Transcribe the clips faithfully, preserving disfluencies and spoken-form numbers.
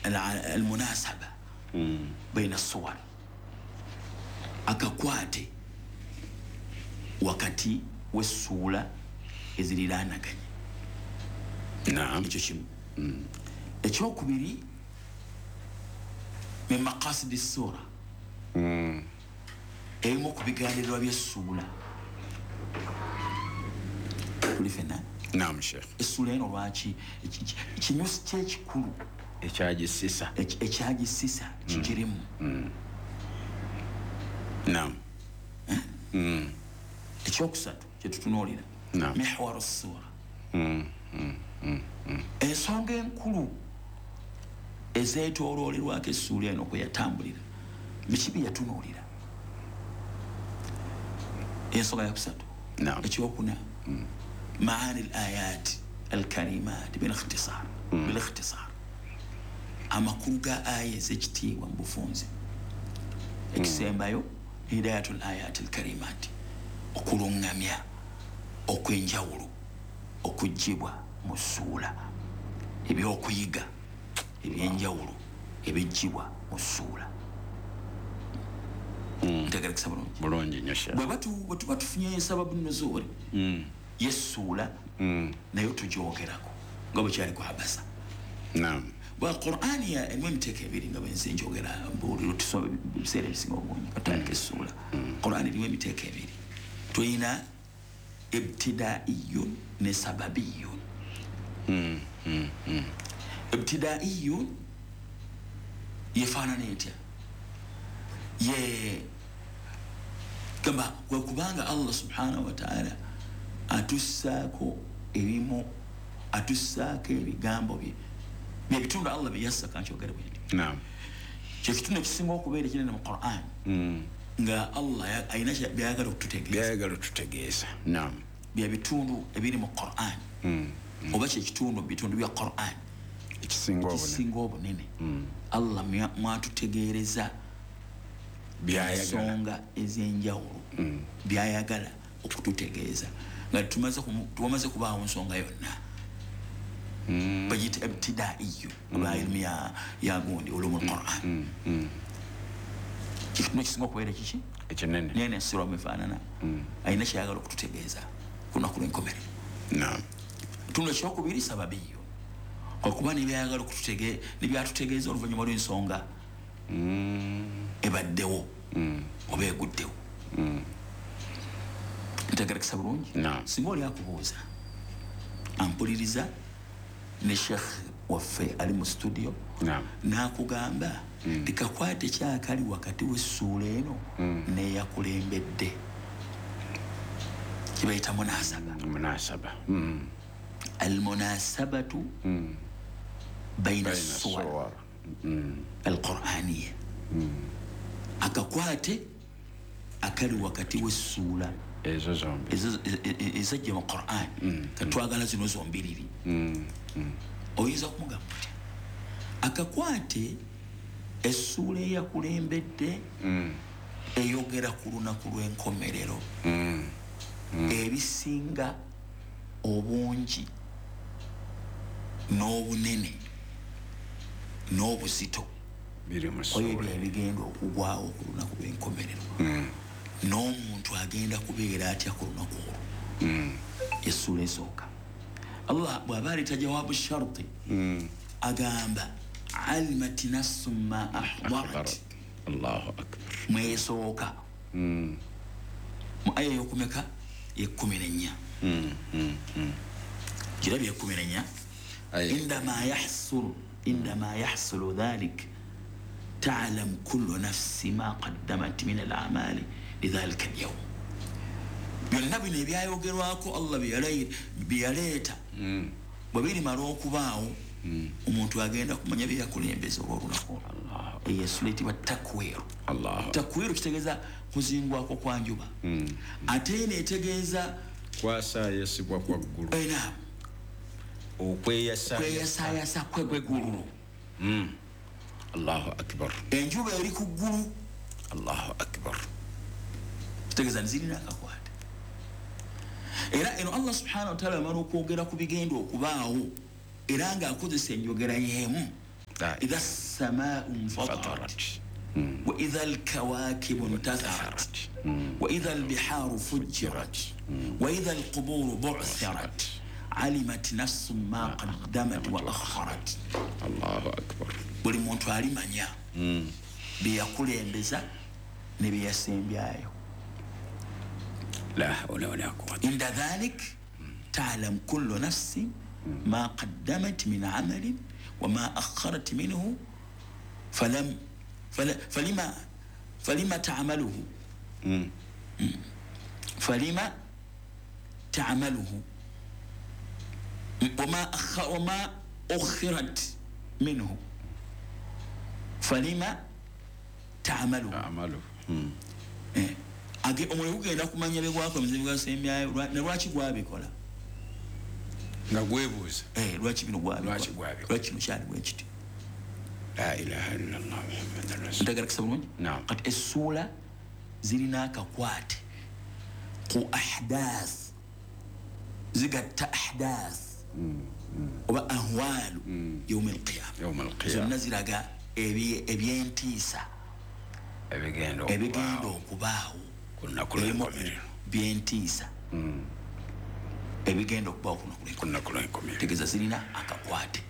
Almunasaba baina suwar, akakwate wakati w'essuula eziriraanaganye. Naam. Ekyo kimu. Ekyokubiri, min maqasidi ssuura, ebimu ku bigendererwa by'essuula. Tuli fenna? Naam Sheikh. Essuula eno lwaki kinyusi kyekikulu ekyagisisa ekyagisisa kigirimu. Naam. Ekyokusatu kyetutunuulira, mihwaru ssuura, ensonga enkulu ezeetooloolerwako essuula eno kwe yatambulira, biki bye yatunuulira. Ensonga yakusatu. Ekyokuna, maani al ayat alkarimat bilikhtisar, bilikhtisar, amakulu ga aya ez'ekitiibwa mu bufunze. Ekisembayo, hidayatul ayat alkarimat, okulungamya okw'enjawulo okuggyibwa mu ssuula, ebyokuyiga ebyenjawulo ebiggyibwa mu ssuula. Ntegerekesa bulungi? Bulungi nnyo Sheikh. Bwe tuba tufunye sababu nuzuuli y'essuula, nayo tugyogerako nga bwe kyali ku Abasa. Naam. Bwa Qur'ani erimu emiteeko ebiri nga bwe nze njogera mbuulira tusoma ebiseera ebisinga obungi katandika essuula. Qur'ani erimu emiteeko ebiri. Tulina ibtidaiyun ne sababiyun. Ibtidaiyun yefaanana etya? Ye gamba kwe kubanga Allah subhanahu wa ta'ala atussaako ebimu, atussaako ebigambo bye byebitundu Allah bye yassa. Kankyogere bwe nti. Naam. Kyekitundu ekisinga okubeera ekinene mu Qur'an, nga Allah alina byayagala okututegeeza, byayagala okututegeeza. Naam. Byebitundu ebiri mu Qur'an, oba kyekitundu mu bitundu bya Qur'an ekisinga obunene, Allah mwatutegeereza ensonga ez'enjawulo byayagala okututegeeza nga tumaze kubaawo nsonga yonna. Bagiyita ibtidaiyu oba ilimu ya gundi ulumu lquran. Kitundu ekisinga okubeera kiki ekinene, naye nensirwa mwefaanana, alina kyayagala okututegeeza ku lunaku lw'enkomerero. Naam. Ekitundu ekyokubiri, sababiyo, kwakuba nebyayagala nebyatutegeeza oluvannyuma lw'ensonga ebaddewo oba eguddewo. Ntegerekesa bulungi? Singa oli akubuuza, ampuliriza ne Sheikh waffe ali mu studio, n'akugamba tikakwate kyakali wakati w'essuula eno n'eyakulembedde, kibayita munasaba. Munasaba. Almunasabatu baina suwar alqur'aniya, akakwate akali wakati w'essuula ezo zombi ezajja mu Qur'an, katwagala zino zombiriri. Oyinza kumugamba otya akakwate essuula eyakulembedde eyogera ku lunaku lw'enkomerero, ebisinga obungi n'obunene n'obuzito biri mu ssuula ebyo ebigenda okugwawo ku lunaku lw'enkomerero, n'omuntu agenda kubeera atya ku lunaku olwo? Essuula esooka, Allah bw'aba aleeta jawabu sharti, agamba alimat nafsun ma ahdarat. Allahu akbar. Mwesooka mu aya y'okumeka y'ekkumi n'ennya, kirabye ekkumi n'ennya, indama yahsulu indama yahsulu dhalik ta'lam kullu nafsi ma qaddamat min al-a'mali lidhalika al-yawm. Byonna bino ebyayogerwako Allah bye yaleeta bwe birimala okubaawo, omuntu agenda kumanya bye yakulembeza olw'olunaku olwo. Eyo essuula eyitibwa Takwiru. Takwiru kitegeeza kuzingwako kwa njuba, ate eno etegeeza kwasaayasibwa kwa ggulu, okweyasaayasa kw'eggulu. Allahu akbar. Enjuba eri ku ggulu. Allahu akbar. Kitegeeza nzirina akakwate. Era eno Allah subhanahu wa ta'ala amala okwogera ku bigenda okubaawo, era ng'akozesa enjogera y'emu. Idha samaau nfatarat wa idha alkawakibu ntatharat wa idha albiharu fujirat wa idha alquburu bu'thirat alimat nafsun ma qaddamat wa akharat. Allahu akbar. Buli muntu alimanya byeyakulembeza ne byeyasembyayo. La hawla wala quwwata. Inda dhalik ta'lam kullu nafsin ma qaddamat min amalin wa ma akharat minhu falam falima falima ta'maluhu falima ta'maluhu wama wama ukhirat minhu falima ta'maluhu ta'maluhu. Eh age omuliro gugenda kumanya bye gwakoze bwasembyayo ne lwaki gwabikola nga gwebuuza eh lwaki bino gwabikola lwaki gwabikola lwaki kino kyali bwe kiti. La ilaha illallah Muhammadur rasul. Ntegera kisabulungi. Kati essuula zirina akakwate ku ahdath, zigatta ahdath oba ahwalu yawm alqiyama. Yawm alqiyama zonna ziraga ebyentiisa ebigenda ebigenda okubaawo ku lunaku lw'enkomerero, byentiisa ebigenda okubaawo ku lunaku lw'enkomerero. Tegeeza zirina akakwate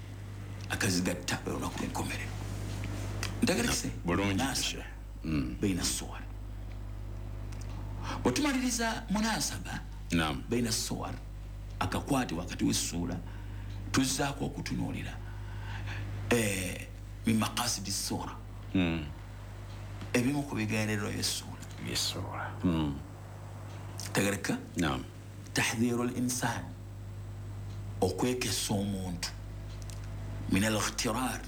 akazigatta olunaku lw'enkomerero. Ntegerekese bulungi baina suwar. Bwetumaliriza munasaba baina suwar, akakwate wakati w'essuula, tuzzaako okutunuulira min maqasidi ssuura, ebimu ku bigendererwa by'essuula. By'essuula. Tegereka? Naam. Tahdhiru al-insan, okwekesa omuntu min al-ightirar,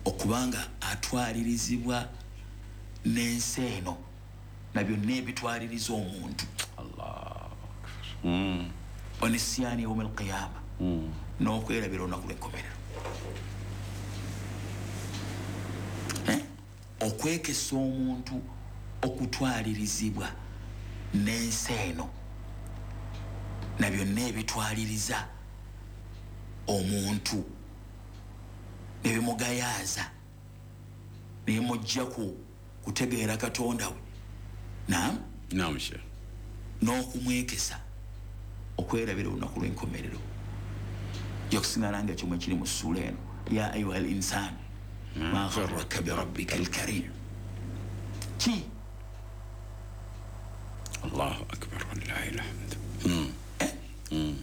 okubanga atwalirizibwa n'ensi eno na byonna ebitwaliriza omuntu. Allahu akbar. Wa nisyani yawm al-qiyama, n'okwerabira olunaku lw'enkomerero. Okwekesa omuntu okutwalirizibwa n'ensi eno na byonna ebitwaliriza omuntu nebimugayaaza nebimujja ku kutegeera Katonda we. Naam? Naam, Sheikh. N'okumwekesa okwerabira olunaku lw'enkomerero. Yakusigala nga kyomwe kiri mu ssuula eno, ya ayuha al insan ma gharraka bi rabbika al karim. Ki? Allahu akbar walillahi alhamd.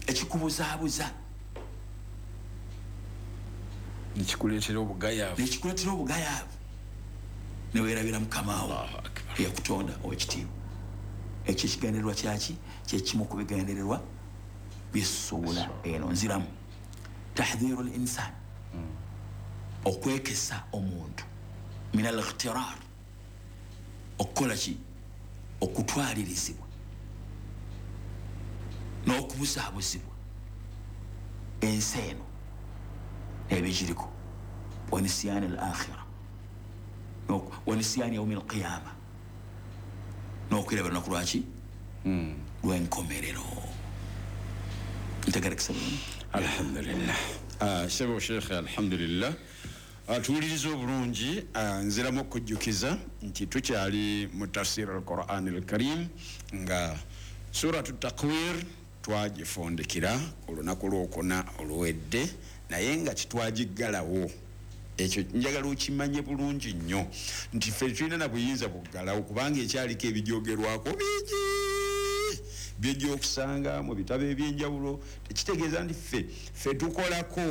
Ekikubuzaabuza nekikuleetera obugayaavu, nekikuleetera obugayaavu neweerabira Mukama wo eyakutonda ow'ekitiibwa. Ekyo ekigendererwa kyaki? Kyekimu ku bigendererwa by'essuula eno. Nziramu tahdhiru al-insan, okwekesa omuntu min al-ightirar, okukola ki? Okutwalirizibwa n'okubuzaabuzibwa ensi eno ebigiriko, wa nisyani al-akhira wa nisyani yawmi al-qiyama, n'okwerabira olunaku lwaki? Lw'enkomerero. Ntegerekesa bulungi. Alhamdulillah. Sebo Sheikh, alhamdulillah. Tuwuliriza obulungi. Nziramu okujjukiza nti tukyali mu tafsir al-Quran al-Karim nga suratu Takwir twagifundikira olunaku lwokuna oluwedde, naye nga kitwagiggalawo. Ekyo njagala okimanye bulungi nnyo nti ffe tulina na buyinza buggalawo, kubanga ekyaliko ebijoogerwako bingi byejja okusanga mu bitabo ebyenjawulo. Tekitegeeza nti ffe ffe tukolako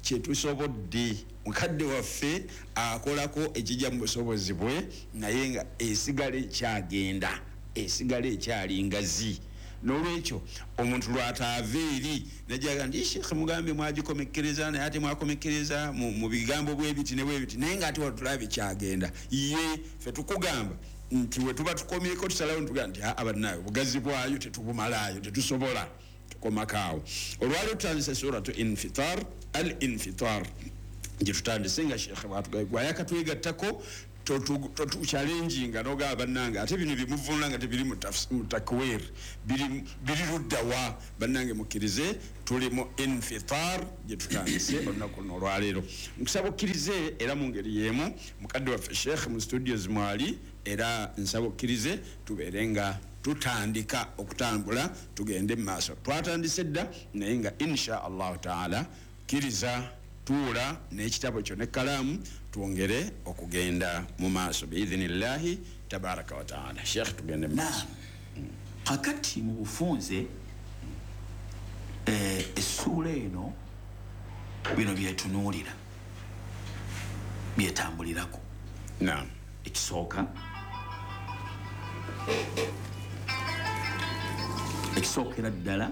kye tusobodde. Mukadde waffe akolako ekijja mu busobozi bwe, naye nga esigala ekyagenda, esigala ekyali ngazi. N'olwekyo omuntu lw'ataava eri najaga nti Sheikh mugambe mwagikomekkereza, naye ate mwakomekkereza mu bigambo bwe biti ne bwe biti, naye ng'ate watulaba ekyagenda. Ye ffe tukugamba nti we tuba tukomyeko tusalawo ntugamba nti aa bannaayo obugazi bwayo tetubumalaayo, tetusobola, tukomako awo. Olwaleero tutandise suratu Infitar, al-Infitar gye tutandise nga Sheikh bwatugambye gwayakatwegattako. Totuchallenginga n'ogamba bannange ate bino bimuvunula nga tebiri mu takwir, biri luddawa. Bannange mukkirize, tuli mu infitar gye tutandise olunaku luno olwaleero. Nkusaba okkirize era mu ngeri y'emu mukadde waffe Sheikh mu studios mwali, era nsaba okkirize tubeere nga tutandika okutambula tugende mu maaso. Twatandise dda naye nga insha Allahu taala kkiriza tuula n'ekitabo kyo n'ekkalaamu twongere okugenda mu maaso biidhinillahi tabaraka wa taala. Sheikh, tugende mu maaso. Kakati mu bufunze essuula eno bino byetunuulira byetambulirako. Naam. Ekisooka ekisookera ddala,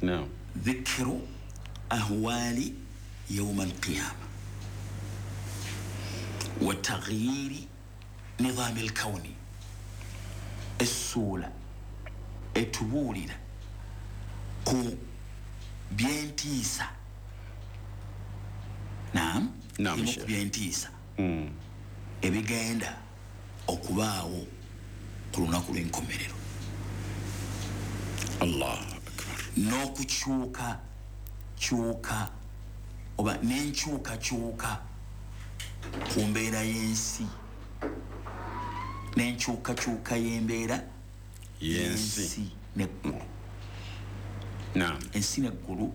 naam, dhikiru ahwali yauma alqiyama wa taghyiri nidhami alkauni. Essuula etubuulira ku byentiisa. Naam, ku byentiisa ebigenda okubaawo ku lunaku lw'enkomerero. Allahu akbar. N'okukyuka kyuka oba n'enkyukakyuka ku mbeera y'ensi, n'enkyukakyuka y'embeera y'ensi n'eggulu. Naam. Ensi n'eggulu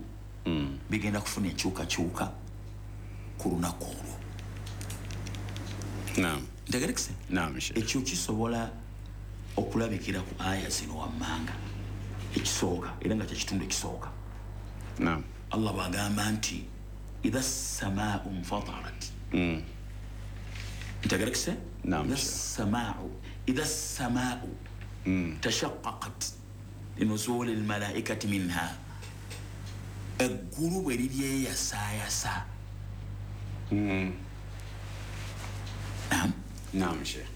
bigenda kufuna enkyukakyuka ku lunaku olwo. Naam. Ntegerekese? Naam, Sheikh. Ekyo kisobola okulabikira ku aya zino wammanga. Ekisooka era nga kyekitundu ekisooka. Naam. Allah bw'agamba nti idha samaau nfatarat. Ntegerekese? Naam. Idha samaau idha samaau tashaqqaqat linuzuli almalaikati minha. Eggulu bwe liryeyasaayasa. Naam. Naam, Sheikh.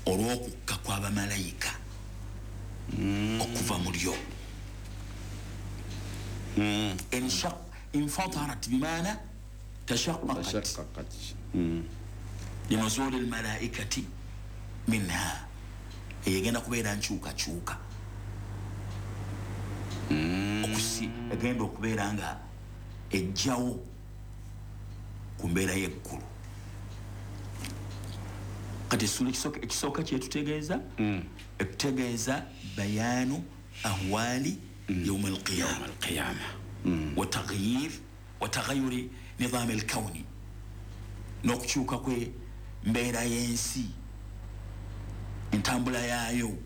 Olw'okukka kw'abamalayika okuva mu lyo. Infatarat bimaana tashaqqaqat linuzuli almalaikati minha. Egenda kubeera nkyukakyuka. Okusi egenda okubeera nga ejjawo ku mbeera y'eggulu. Kati essuula ekisooka kyetutegeeza, etutegeeza bayaanu ahwali yauma alqiyama wa taghyir wa taghayyuri nidhaami alkauni, n'okukyuka kwe mbeera y'ensi, entambula yaayo.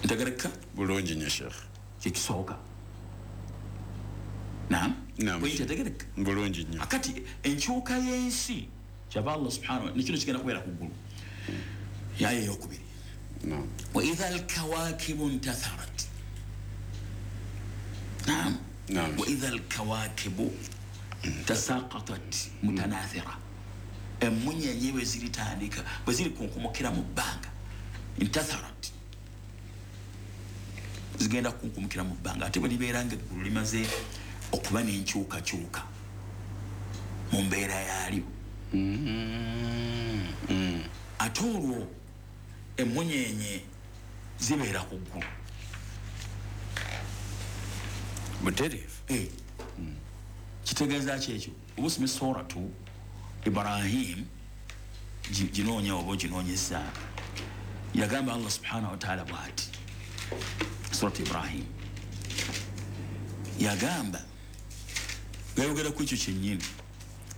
Ntegereka bulungi nnyo Sheikh. Kyekisooka. Naam. Ntegereka bulungi nnyo. Akati enkyuka y'ensi kyava Allah subhanahu wa ta'ala nekino kigenda kubeera ku ggulu. Yaya eyokubiri, wa idha alkawakibu ntatharat. Naam. Wa idha alkawakibu tasaqatat mutanathira. Emmunyenye bwe ziritandika bwe ziri kunkumukira mu bbanga, ntatharat, zigenda kunkumukira mu bbanga. Ate bwe libeera nga eggulu limaze okuba n'enkyukakyuka mu mbeera yaalyo, ate olwo emmunyenye zibeera ku ggulu butereevu. Kitegeeza ki ekyo? Oba osome suratu Ibrahim, ginoonya oba oginoonyeza, yagamba Allah subhanahu wa taala bw'ati, suratu Ibrahim yagamba, gayogera ku ekyo kyennyini.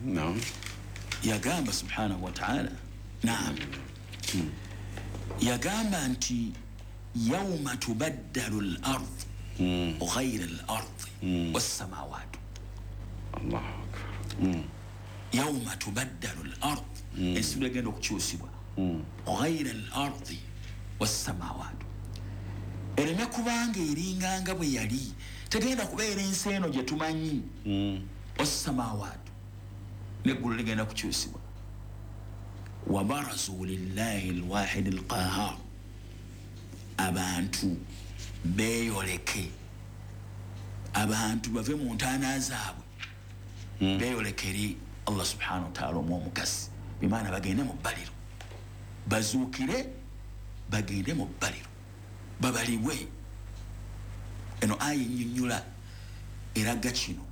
Naam. Yagamba subhanahu wa taala, naam, yagamba nti yauma tubaddalu al-ard ghayra al-ard was-samawat. Allahu akbar. Yauma tubaddalu al-ard, ensi egenda okukyusibwa, ghayra al-ard was-samawat, ereme kubanga eringanga bwe yali, tegenda kubeera ensi eno gye tumanyi. Was-samawat, neggulu ligenda kukyusibwa. Wa barazu lillahi al-wahid al-qahhar, abantu beeyoleke, abantu bave mu ntaana zaabwe beeyoleke eri Allah subhanahu wa ta'ala omwomukasi bimaana bagende mu bbaliro, bazuukire bagende mu bbaliro babalibwe. Eno aya ennyonnyola eraga kino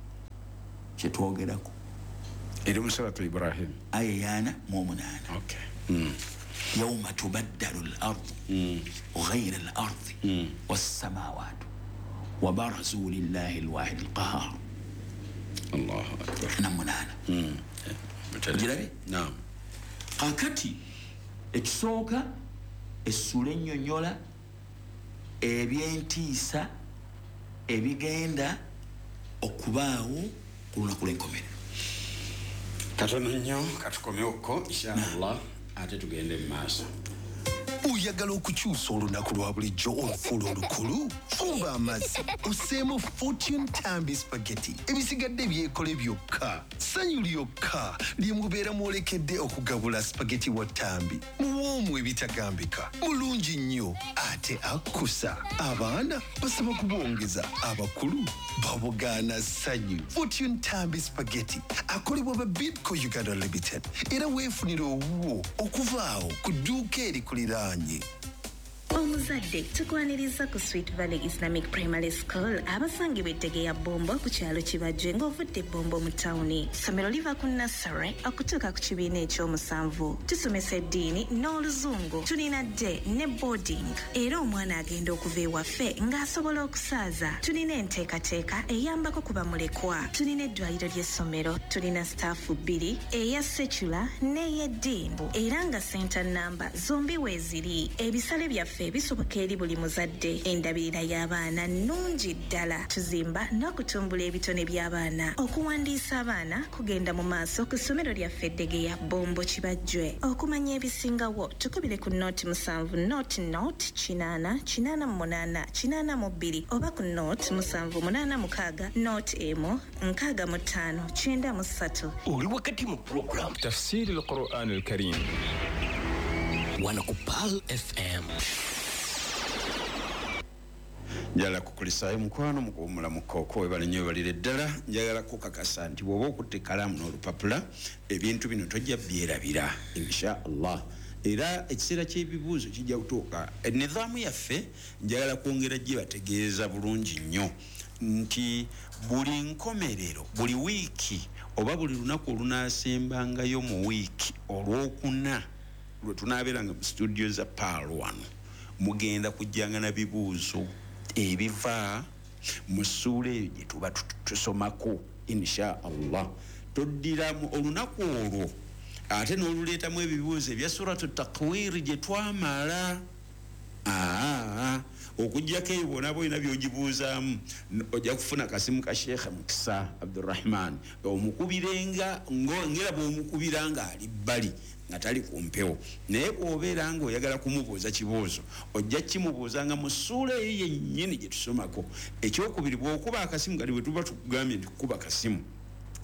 kyetwogerako eri mu suratu Ibrahim aya yana mu omunaana. Okay. Mm. Yawma tubaddalu al-ardu mm. ghayra al-ardi mm. was-samawatu wa barazu lillahi al-wahid al-qahhar. Allahu akbar. Na munaana. Mm. Ogirabye? Naam. Kakati ekisooka essula ennyonnyola ebyentiisa ebigenda okubaawo ku lunaku lw'enkomerero. Katono nnyo katukomewoko inshallah, ate tugende mu maaso. Oyagala okukyusa olunaku lwa bulijjo olufuula olukulu? Fumba amazzi osseemu Fortune Tambi Spaghetti, ebisigadde byekole byokka. Ssanyu lyokka lye mubeera mwolekedde okugabula spaghetti wa Tambi. Muwoomu ebitagambika, mulungi nnyo ate akkusa. Abaana basaba kubongeza, abakulu babugaana ssanyu. Fortune Tambi Spaghetti akolebwa ba Bidco Uganda Limited, era weefunire owuwo okuva awo ku dduuka erikuliraanye. Omuzadde tukwaniriza ku Sweet Valley Islamic Primary School abasangibwa ettege ya Bombo ku kyalo Kibajje ng'ovudde Bombo mu tawuni. Ssomero liva ku nursery okutuuka ku kibiina ekyomusanvu. Tusomesa eddiini n'oluzungu. Tulina day ne boarding, era omwana agenda okuva ewaffe ng'asobola okusaaza. Tulina enteekateeka eyambako ku bamulekwa. Tulina eddwaliro ly'essomero. Tulina staafu bbiri, eya secular n'ey'eddiini, era nga center namba zombi weeziri. Ebisale byaffe bisoboka eri buli muzadde. Endabirira y'abaana nnungi ddala. Tuzimba n'okutumbula ebitone by'abaana. Okuwandiisa abaana kugenda mu maaso ku ssomero lyaffe Eddegeya Bombo Kibajjwe. Okumanya ebisingawo tukubire ku noti musanvu noti noti kinaana kinaana mu munaana kinaana mu bbiri oba ku noti musanvu munaana mukaaga noti emu nkaaga mu ttaano kyenda mu ssatu. Oli wakati mu program Tafsiri al-Quran al-Karim wano ku Pearl F M. Njagala kukulisaayo mukwano mukuwummula mukooko webale nnyo webalire ddala. Njagala kukakasa nti bw'oba okutte ekkalaamu n'olupapula ebintu bino tojja byerabira insha Allah. Era ekiseera ky'ebibuuzo kijja kutuuka. Enizaamu yaffe njagala kwongera gibategeeza bulungi nnyo nti buli nkomerero, buli wiiki oba buli lunaku olunaasembangayo mu wiiki olwokuna lwe tunaabeeranga mu studio za Pearl wano, mugenda kujjanga na bibuuzo ebiva mu ssuula eyo gye tuba tusomako insha Allah. Toddiramu olunaku olwo ate n'oluleetamu ebibuuzo ebya suratu Takwiri gye twamala. Aa, okuggyako ebyo bw'onaaba olina by'ogibuuzaamu ojja kufuna kasimu ka Sheikh Mukisa Abdurrahman omukubirenga ngera bw'omukubira ng'ali bbali nga tali ku mpewo. Naye bw'obeera ng'oyagala kumubuuza kibuuzo ojja kimubuuzanga mu ssuula eyo yennyini gye tusomako. Ekyokubiri, bw'okuba akasimu kati bwe tuba tukugambye nti kukuba kasimu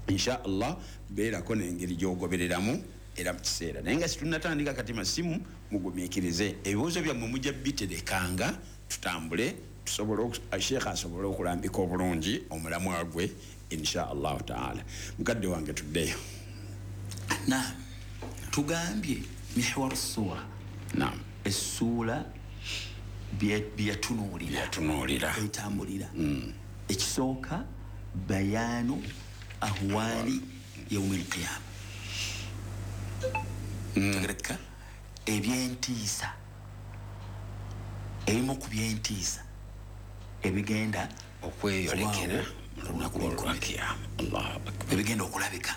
insha Allah beerako n'engeri gy'ogobereramu era mu kiseera. Naye nga situnnatandika kati masimu, mugumiikirize ebibuuzo byammwe mujja biterekanga tutambule tusobole Sheikh asobole okulambika obulungi omulamwa gwe insha Allahu taala. Mukadde wange tuddeyo. Naam, tugambye mihwar sura. Naam, essuula byatunuulira byatunuulira etambulira. Ekisooka bayanu ahwali yaumi alqiyama. Tegereka ebyentiisa, ebimu ku byentiisa ebigenda okweyolekera mu lunaku lw'ekiyama. Allahu akbar. Ebigenda okulabika.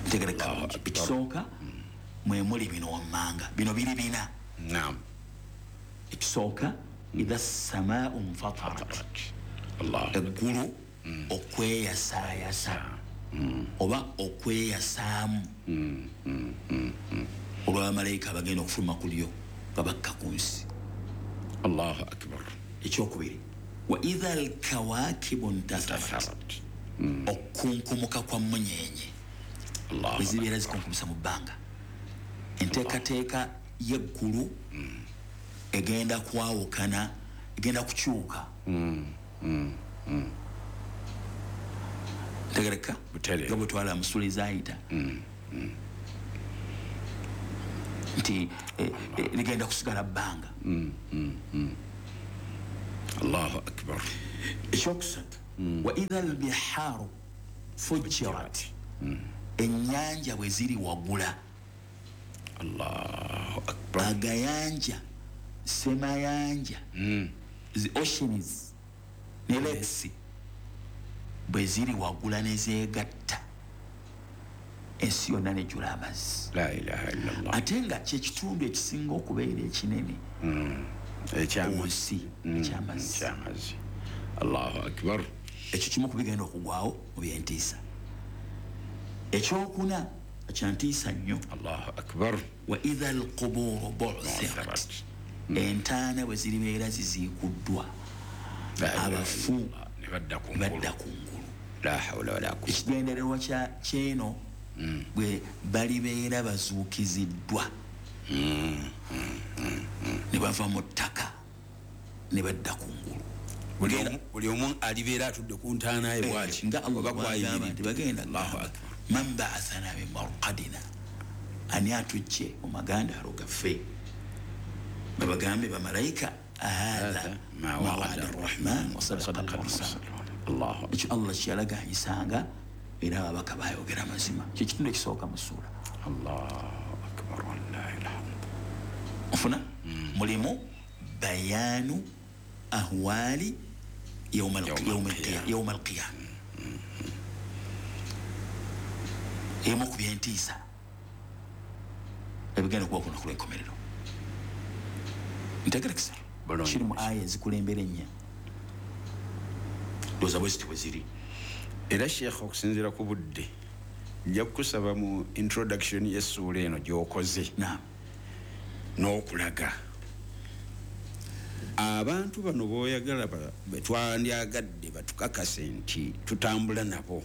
Tegereka ekisooka mwe muli bino wammanga bino biri bina. Naam. Ekisooka idha samaa'u nfatarat, eggulu okweyasaayasa oba okweyasaamu olw'abamalayika abagenda okufuluma ku lyo nga bakka ku nsi. Allahu akbar. Ekyokubiri, wa idha alkawakibu ntatharat, okunkumuka kwa mmunyenye bwe zibeera zikunkumisa mu bbanga. Enteekateeka y'eggulu egenda kwawukana, egenda kukyuka. Tegereka nga bwe twala musula ezaayita nti ligenda kusigala bbanga. Allahu akbar. Ekyokusatu, wa idha albiharu fujirat, ennyanja bwe ziri wagula. Allahu akbar. Agayanja, semayanja, the oceans ne lakes bwe ziri wagula ne zeegatta, ensi yonna nejjula amazzi. La ilaha illallah. Ate nga kyekitundu ekisinga okubeera ekinene ekyamazzi, ekyamazzi. Allahu akbar. Ekyo kimu ku bigenda okugwawo mu byentiisa. Ekyokuna kyantiisa nnyo. Allahu akbar. Wa idha alquburu bu'thirat, entaana bwe ziribeera ziziikuddwa, abafu ne badda ku ngulu. La hawla wala quwwata. Ekigendererwa kyeno bwe balibeera bazuukiziddwa ne bava mu ttaka ne badda ku ngulu. Buli omu alibeera atudde ku ntaana ye bw'ati nga Allah bw'agamba nti bagenda Allahu akbar. Man ba'athana min marqadina, ani atujje mu magandaalo gaffe? Babagambe bamalayika, hadha ma wa'ada arrahman wa sadaqa al-mursalun. Allahu ekyo Allah kyeyalaganyisanga era ababaka bayogera amazima. Kye kitundu ekisooka mu ssuula. Allahu akbar wallahi alhamd. Ofuna mulimu bayanu ahwali yawm al-qiyama. Emu ku byentiisa ebigenda okuba ku lunaku lw'enkomerero. Ntegerekesa kiri mu aya ezikulembera ennya, ndowooza bwe ziti bwe ziri. Era Sheikh, okusinziira ku budde, nja kukusaba mu introduction y'essuula eno gy'okoze n'okulaga abantu bano b'oyagala betwandyagadde batukakase nti tutambula nabo,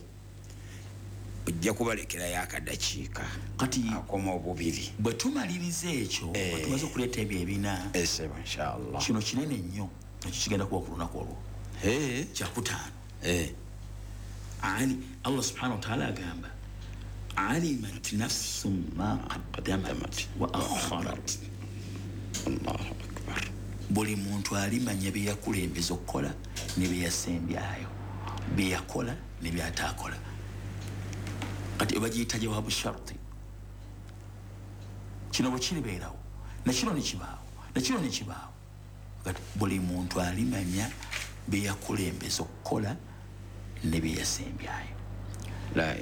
ojja kubalekerayo akadakiika kati akoma obubiri. Bwe tumaliriza ekyo, bwe tumaze okuleeta ebyo ebina, esebo inshallah, kino kinene nnyo ekyo kigenda kuba ku lunaku olwo kyakutaano. Ali Allah subhanahu wa ta'ala agamba alimat nafsum ma qaddamat wa akharat. Allahu akbar. Buli muntu alimanya bye yakulembeza okukola ne bye yasembyayo, bye yakola ne by'ataakola. Kati bagiyita jawabu sharti. Kino bwe kiribeerawo na kino ne kibaawo na kino ne kibaawo. Kati buli muntu alimanya bye yakulembeza okukola ne bye yasembyayo.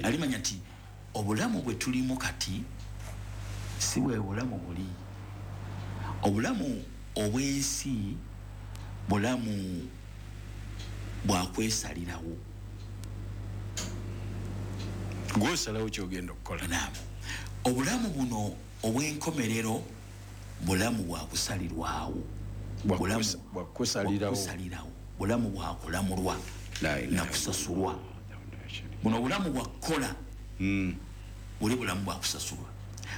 Alimanya nti obulamu bwe tulimu kati si bwe bulamu buli. Obulamu obw'ensi bulamu bwakwesalirawo, gw'osalawo ky'ogenda okukola. Naam. Obulamu buno obw'enkomerero bulamu bwakusalirwawo, bwakusalirawo, bulamu bwakulamulwa na kusasulwa. Buno obulamu bwakukola buli bulamu bwakusasulwa.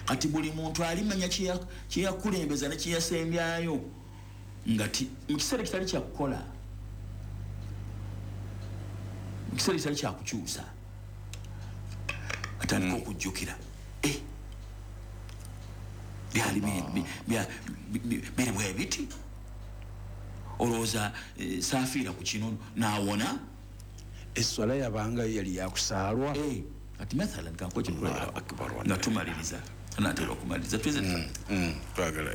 Kati buli muntu alimanya kyeyakulembeza ne kyeyasembyayo nga mu kiseera ekitali kyakukola, mu kiseera ekitali kyakukyusa, atandika okujjukira byali biri bwe biti, olowooza saafiira ku kino n'awona. Esswala yabanga yali yakusaalwa. Kati mathalan kankuwa ekyokulabirako nga tumaliriza, anaatera okumaliriza twagala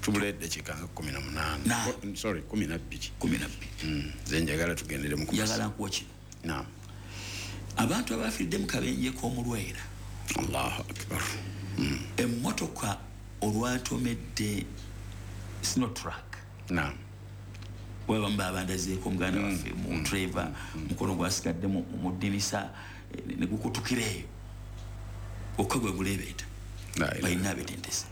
tubula eddakiika nga kumi na munaana, sorry kumi na bbiri, kumi na bbiri. Nze njagala tugendere mu njagala nkuwa kino. Naam. Abantu abafiiridde mu kabenje k'omulwera, Allahu akbar, emmotoka olwatomedde Sinotruck. Naam. Bwe babandazeeko muganda waffe mu driver, mukono gwasigadde mu ddinisa ne gukutukira eyo, okka gwe guleebeeta balina abetentese.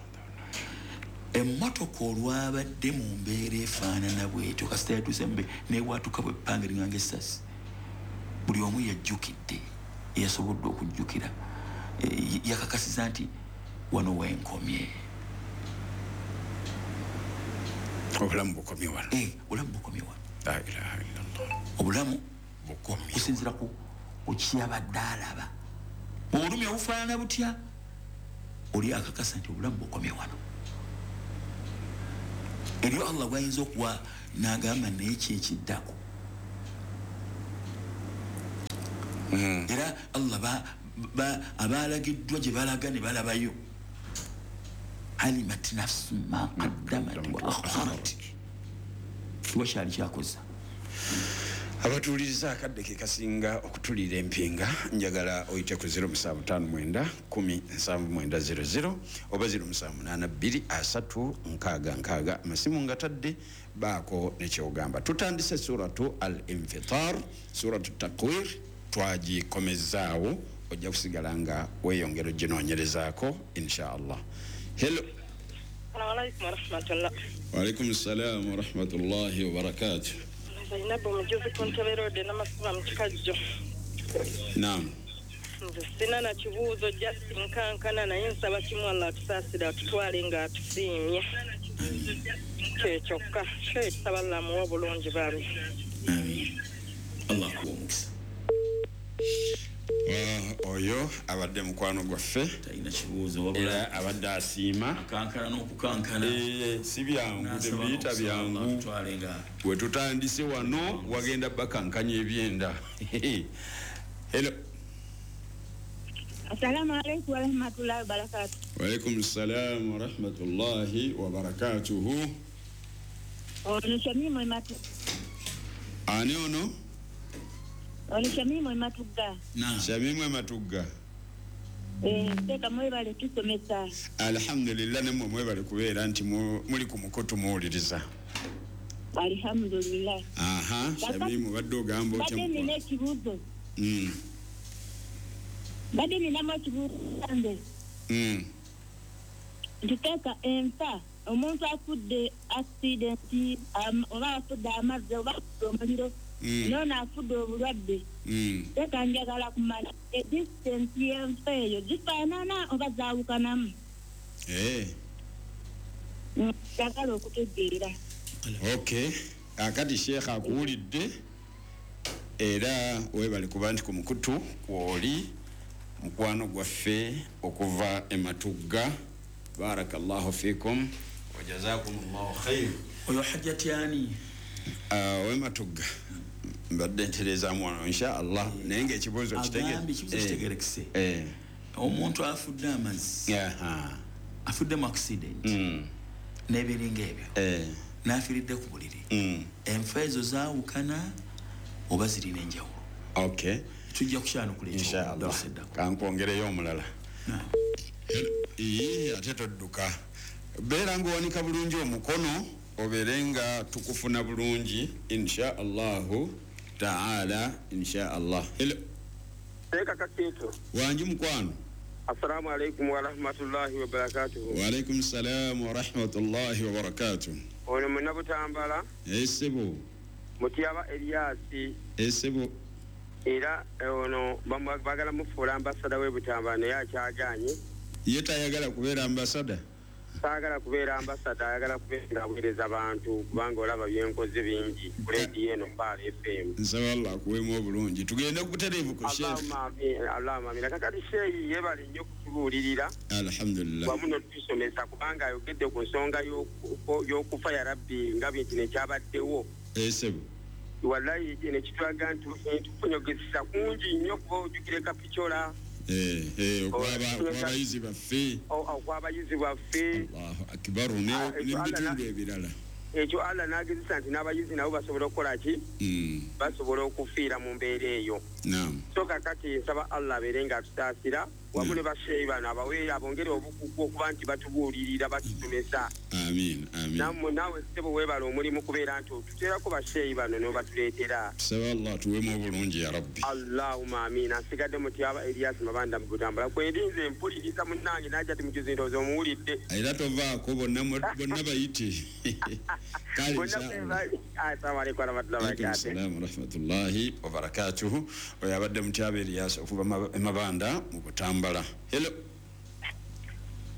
Emmotoka olwabadde mu mbeera efaanana bwetyo, kasita yatuuse newatuka bwe ppanga eringanga essasi, buli omu yajjukidde, yasobodde okujjukira, yakakasiza nti wano wenkomye. Obulamu bukomye wano. Eh, obulamu bukomye wano. La ilaha illallah. Obulamu bukomye kusinziira ku Kukyabadde alaba obulumi obufaanana butya, oli akakasa nti obulamu bukomye wano. Eryo Allah gwayinza okuwa n'agamba naye ki ekiddako. Era Allah abalagiddwa gye balaga ne balabayo. Alimat nafsu ma qaddamat wa akharat, kiwa kyali kyakoza. Abatuuliriza akadde ke kasinga okutuliira empinga, njagala oyite ku zero musanvu ttaano mwenda kumi nsanvu mwenda zero zero oba zero musanvu munaana bbiri asatu nkaaga nkaaga. Amasimu nga tadde baako nekyogamba. Tutandise suratu al-Infitar, suratu Takwir twagikomezaawo, ojja kusigala nga weeyongera oginoonyerezaako insha Allah. Hello. Assalamu alaikum warahmatullah. Wa alaikum salam wa rahmatullahi wa barakatuh. Zainabu Mujuzi ku Ntebe Road n'amasiba mu Kikajjo. Naam. Nze sina na kibuuzo, just nkankana naye nsaba kimu Allah atusaasire atutwale nga atusiimye. Kye kyokka kye tusaba Allah amuwe obulungi bambi. Amiin. Allah akuwe omukisa. Oyo abadde mukwano gwaffe, talina kibuuzo wabula era abadde asiima akankana n'okukankana. Si byangu, tebiyita byangu. We tutandise wano wagenda bakankanya ebyenda. Hello. Assalamu alaikum wa rahmatullahi wa barakatuh. Wa alaikum salam wa rahmatullahi wa barakatuhu. Ono Shamimu Ematu. Ani ono? Ono Shamimu Ematuga. Na. Shamimu Ematuga. Eh, teka mwebale tusomesa. Alhamdulillah, nemwe mwebale kubeera nti muli ku mukutu muwuliriza. Alhamdulillah. Aha, Shamimu badde ogamba otya? Badde nina ekibuuzo. Mm. Badde ninamu ekibuuzo nze. Mm. Ntiteeka enfa omuntu afudde accident oba afudde amazzi oba afudde omuliro. Mm. Nono afudde obulwadde. Mm. Teeka njagala kumanya edistance y'enfa eyo gifaanana oba zaawukanamu. Eh. Njagala okutegeera. Okay. Akati Sheikh akuwulidde era weebale kuba nti ku mukutu kwoli mukwano gwaffe okuva e Matugga. Barakallahu fikum wa jazakumullahu khair. Oyo hajjati ani? Uh, we Matugga mbadde ntereezaamu wano insha Allah, naye ng'ekibuuzo kitegerekise. Eh. Omuntu afudde amazzi, afudde mu accident mm. n'ebiringa ebyo, eh. n'afiiridde ku buliri. Mm. Enfa ezo zaawukana oba zirina enjawulo? Okay. Tujja kukyanukula insha Allah. Kankwongereyo omulala. Iye, ate todduka. Beera ng'owanika bulungi omukono obeere nga tukufuna bulungi insha Allahu taala insha Allah. Hello. Teeka kakeeto. Wangi mukwano. Assalamu alaikum wa rahmatullahi wa barakatuhu. Wa alaikum salam wa rahmatullahi wa barakatuh. Ono Munnabutambala. Esebo. Mutyaba Eliasi. Esebo. Era ono bagala mufuula ambasada w'e Butambala naye akyagaanye. Ye tayagala kubeera ambasada? Saagala kubeera ambasada, ayagala kubeera aweereza bantu kubanga olaba byenkoze bingi ku leediyo eno Pearl F M. Nsaba Allah akuweemu obulungi. Tugende ku butereevu ku Sheikh. Allahumma amiin, Allahumma amiin. Kakati Sheikh yeebale nnyo okutubuulirira. Alhamdulillah. Wamu n'otusomesa kubanga ayogedde ku nsonga y'okufa ya Rabbi nga bintu nekyabaddewo. Esebo. Wallahi nekitulaga nti tufunyogezesa kungi nnyo kuba ojjukire Kapichola. Eh, eh, okwabayizi baffe. Okwabayizi baffe. Allahu akbar, ne bitundu ebirala. Ekyo Allah n'agezesa nti n'abayizi nabo basobola okukola ki? Basobola okufiira mu mbeera eyo. Naam. So kakati nsaba Allah abeere nga atusaasira wamu ne basheeyi bano abaweere abongere obukugu okuba nti batubuulirira batusomesa. Amiin, amiin. Nammwe naawe ssebo weebale omulimu kubeera nti otuteerako basheeyi bano n'obatuleetera. Tusaba Allah atuweemu obulungi ya Rabbi. Allahumma amiina. Nsigadde Mutyaba Elias Mabanda mu Butambala. Kwendi nze mpuliriza munnange najja ti mujuzi ndowooza omuwulidde. Era tovaako bonna bonna bayite. Kale inshallah. Assalamu alaikum warahmatullahi wabarakatuh. Assalamu warahmatullahi wabarakatuh. Oyo abadde Mutyaba Elias okuva Mabanda mu Butambala. Hello.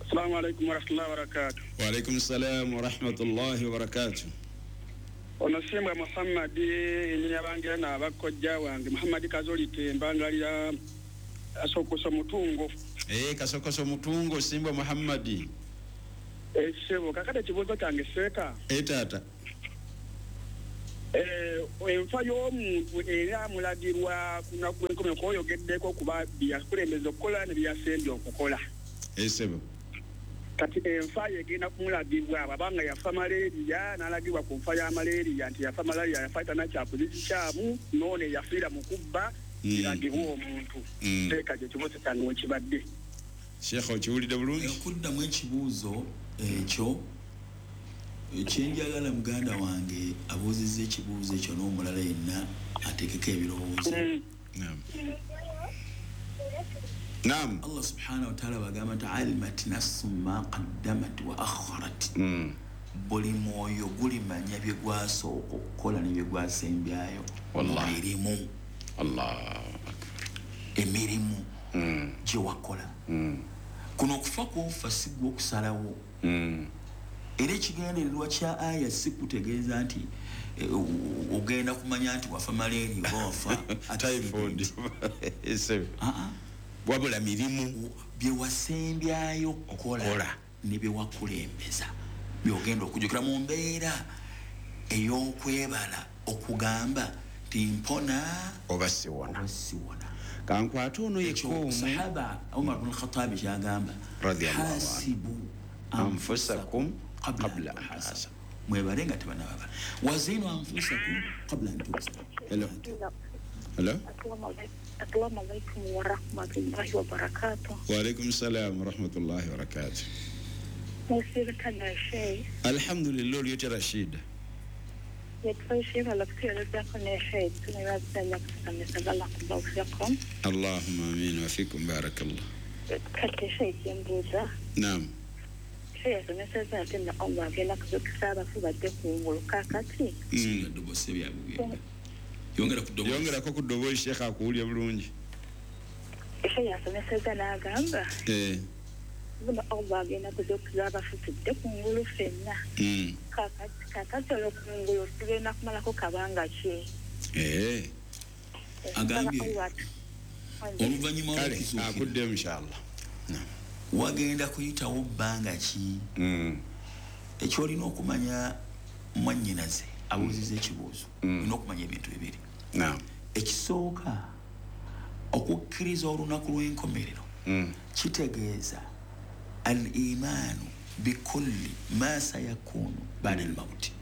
Assalamu alaikum warahmatullahi wabarakatuh. Wa alaikum salam wa rahmatullahi wa barakatuh. Ono Simbwa Muhammad enyabangira n'abakojja wange Muhammad Kazoli Tembangalira Kasokoso Mutungo. Eh, Kasokoso Mutungo Simbwa Muhammad. Eh, sebo kakati ekibuuzo kyange seeka. Eh, taata. Eh, enfa y'omuntu era amulagirwa ku lunaku lw'enkomerero kw'oyogeddeko kuba bye yakulembeza okukola ne byeyasembye okukola. Eh, sebo. Kati enfa ye egenda kumulagibwa bw'aba yafa malaria n'alagibwa ku nfa ya malaria nti yafa malaria yafa tanakyakoze kikyamu n'ono eyafiira mu kubba kiragibwa omuntu. Seeka kye kibuuzo kyange wekibadde. Sheikh okiwulidde bulungi? Okuddamu ekibuuzo ekyo ekyenjagala muganda wange abuuzizza ekibuuzo ekyo n'omulala yenna ateekeko ebirowoozo. Naam. Naam. Allah subhanahu wa ta'ala bagamba nti alimat nafsun ma qaddamat wa akharat. Buli mwoyo gulimanya bye gwasooka okukola ne bye gwasembyayo. Wallahi. Emirimu. Allahu akbar. Emirimu gye wakola. Kuno okufa kwofa si gwe okusalawo. Era ekigendererwa kya aya si kutegeeza nti ogenda kumanya nti wafa malaria oba wafa typhoid. Wabula mirimu bye wasembyayo okukola ne bye wakulembeza by'ogenda okujjukira mu mbeera ey'okwebala okugamba nti mpona oba siwona. Oba siwona. Kankwate ono yekka omu. Sahaba Umar bin Khattab ky'agamba hasibu anfusakum qabla an tuhasabu. Mwebale nga tebannababala. Wazinu anfusakum qabla an tuhasabu. Hello. Hello. Assalamu alaikum wa rahmatullahi wa barakatuh. Wa alaikum salam wa rahmatullahi wa barakatuh. Alhamdulillah olyote Rashid. Allahumma amin wa fikum barakallah. Naam. Yongerako ku ddoboozi Sheikh akuwulira bulungi. Eh. Eh. Agambye oluvannyuma lw'okuzuukira akuddemu inshallah. Wagenda kuyitawo bbanga ki? Ekyolina okumanya mwannyinaze abuuzizza ekibuuzo olina okumanya ebintu bibiri. Naam. Ekisooka okukkiriza olunaku lw'enkomerero kitegeeza al-imaanu bikulli ma sayakunu ba'da al-mawti.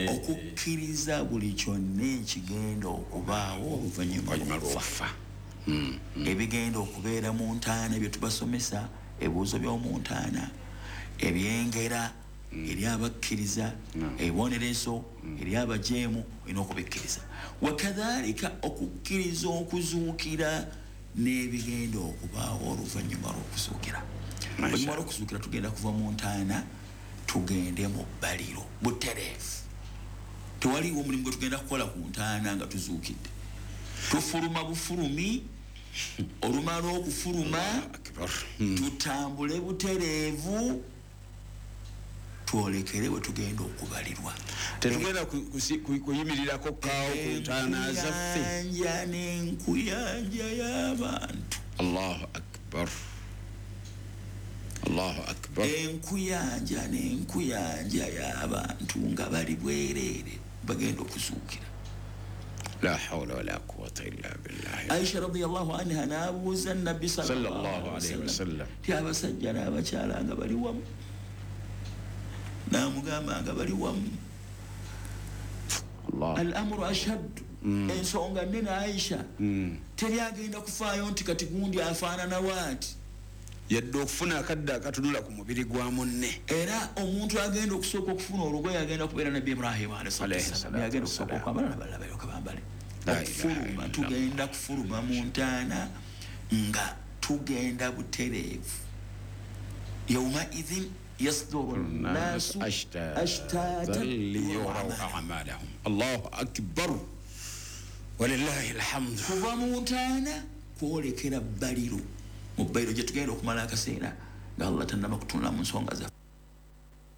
Okukkiriza buli kyonna ekigenda okubaawo oluvannyuma lw'okufa. Ebigenda okubeera mu ntaana bye tubasomesa, ebibuuzo by'omu ntaana, ebyengera eri abakkiriza, ebibonerezo eri abajeemu, olina okubikkiriza. Wakadhalika okukkiriza okuzuukira n'ebigenda okubaawo oluvannyuma lw'okuzuukira. Oluvannyuma lw'okuzuukira tugenda kuva mu ntaana tugende mu bbaliro butereevu. Tewaliiwo omulimu gwe tugenda kukola ku ntaana nga tuzuukidde. Tufuluma bufulumi, olumala okufuluma tutambule butereevu twolekere we tugenda okubalirwa. Tetugenda kuyimirirako kaawo ku ntaana zaffe. Enkuyanja n'enkuyanja y'abantu. Allahu akbar. Allahu akbar. Enkuyanja n'enkuyanja y'abantu nga bali bwereere bagenda okuzuukira. La hawla wala quwwata illa billah. Aisha radiyallahu anha n'abuuza Nabbi sallallahu alayhi wasallam ti abasajja n'abakyala nga bali wamu, n'amugamba nga bali wamu. Al-amru ashaddu. Ensonga nnene Aisha. Teri agenda kufaayo nti kati gundi afaanana waati. Yadde okufuna akadde akatunula ku mubiri gwa munne. Era omuntu agenda okusooka okufuna olugoye agenda kubeera Nabbi Ibrahim alayhi salaam. Agenda okusooka okwambala n'abalala balyoke bambale. Okufuluma tugenda kufuluma mu ntaana nga tugenda butereevu. Yawma idhin yasduru nnaasu ashtatan liyuraw a'malahum. Allahu akbar. Walillahi alhamdu. Kuva mu ntaana kwolekera bbaliro. Mu bbaliro gye tugenda okumala akaseera nga Allah tannaba kutunula mu nsonga zaffe.